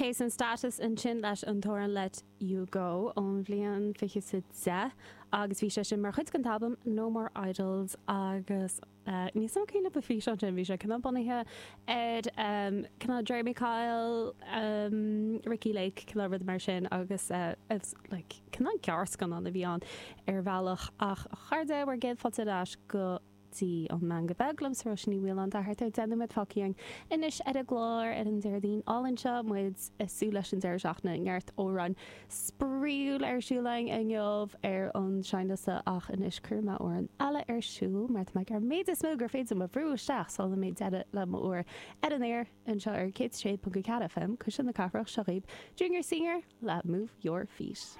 Chase and Status ansin leis an t-amhrán Let You Go ón bhliain 2010 agus bhí sé sin mar chuid den t-albam No More Idols agus níl 's a'm cén an físeán sin, bhí sé cineál bunaithe ar cineál Jeremy Kyle, Ricki Lake, cineál rud mar sin agus like cineál gearrscannán a bhí ann ar bhealach ach a chairde, bhur gcéad fáilte ar ais go dtí an Meangadh Beag liomsa Róisín Ní Mhaoláin tá thart ar 10 nóiméad fágtha againn anois ar an gclár ar an Déardaoin álainn seo, muid ag súil leis an deireadh seachtaine, neart amhráin spraíúil ar siúl againn inniu ar an seinnliosta ach anois cuirfidh mé amhrán eile ar siúl mar tá mé ag iarraidh an méid is mó gur féidir liom a bhrú isteach sula mbeidh deireadh le m'uair ar an aer anseo ar 106.4 FM, Cuisle na Cathrach, seo dhaoibh Junior Senior le Move Your Feet.